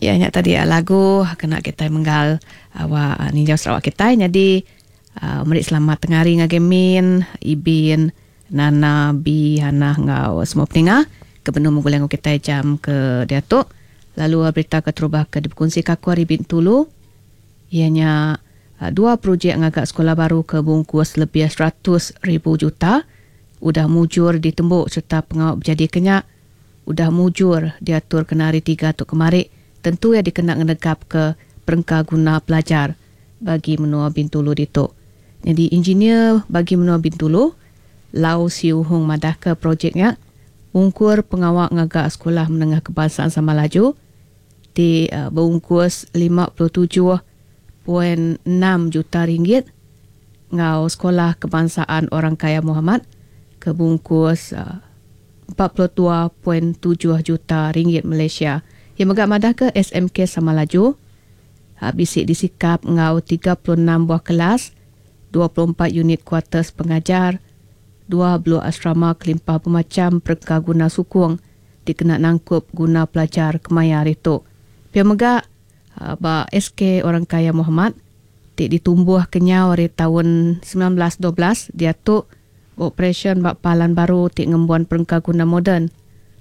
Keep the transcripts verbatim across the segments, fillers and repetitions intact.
Ya nya tadi lagu kena kita menggal awak ninjau Sarawak kita jadi uh, meri selamat tengah hari ngagai Min, Ibin, Nana, B, Hana ngau semua peninga ke benung mengulang kita jam ke diatu. Lalu berita ke terubah ke dikongsi ka aku ari Bintulu ianya dua projek ngagak sekolah baru ke bungkus lebih seratus ribu juta udah mujur ditembuk serta pengawak berjadi kenyak udah mujur diatur kena hari tiga tu kemari tentu ia dikena ngenegap ke perengka guna pelajar bagi menua Bintulu ditu. Jadi engineer bagi menua Bintulu Lau Siu Hung madah ke projeknya ungkur pengawak ngagak sekolah menengah kebangsaan Samalaju di uh, berungkus lima puluh tujuh point enam juta ringgit ngau sekolah kebangsaan Orang Kaya Muhammad ke bungkus uh, empat puluh dua point tujuh juta ringgit Malaysia. Yang megak madah ke S M K Samalaju bisik disikap ngau tiga puluh enam buah kelas, dua puluh empat unit kuarters pengajar, dua blok asrama kelimpah bermacam perengka guna sukung dikena nangkup guna pelajar kemaya hari tu. Pia megak ba S K Orang Kaya Muhammad ti ditumbuh kenyau hari tahun sembilan belas dua belas diatu operasi bak palan baru ti ngembuan perengka guna moden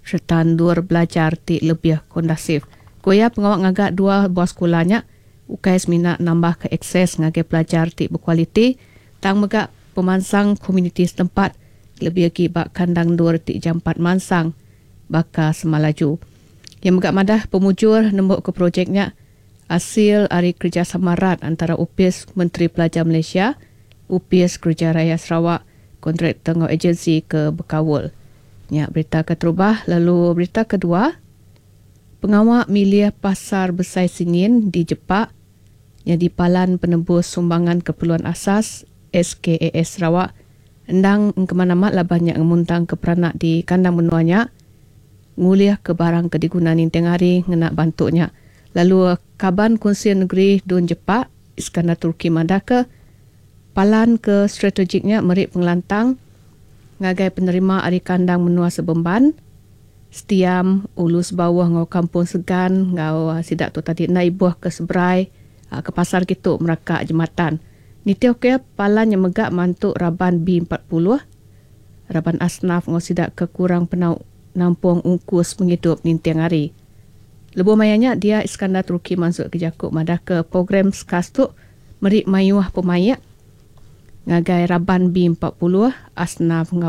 serta ndur belajar ti lebih kondasif. Kuya pengawak ngagak dua buah sekolahnya ukai semina nambah ke akses ngagai pelajar ti berkualiti tang megak pemansang komuniti setempat lebih lagi bak kandang dur ti jampat mansang baka Semalaju. Yang megak madah pemujur nembuk ke projeknya hasil ari kerjasama rat antara U P I S Menteri Pelajar Malaysia, U P I S Kerja Raya Sarawak, kontraktor ngau agensi ke Bekawul. Nya berita keterubah, lalu berita kedua, pengawak milih pasar besai Singin di Jepak jadi palan penebus sumbangan keperluan asas S K A S Sarawak endang kemana-mana lah banyak ngemuntang ke peranak di kandang menuanya nguliah ke barang ke diguna ninting hari ngena bantuknya. Lalu Kaban Kunsi Negeri Dun Jepak Iskandar Turki madah ke palan ke strategiknya merik pengelantang ngagai penerima ari kandang menua Sebemban, Setiam, Ulus Bawah ngau Kampung Segan ngau sidak tu tadi na ibuh ke Seberai ke pasar kitu meraka jematan. Nitih ke palan yang megak mantuk raban B empat puluh, raban asnaf ngau sidak ke kurang penau nampung ungkus penghidup ninting hari. Lebuh mayanya dia Iskandar Turki masuk ke Jakub madah ke program SKAS tu merik mayuh pemayak ngagai raban B empat puluh asnaf ngau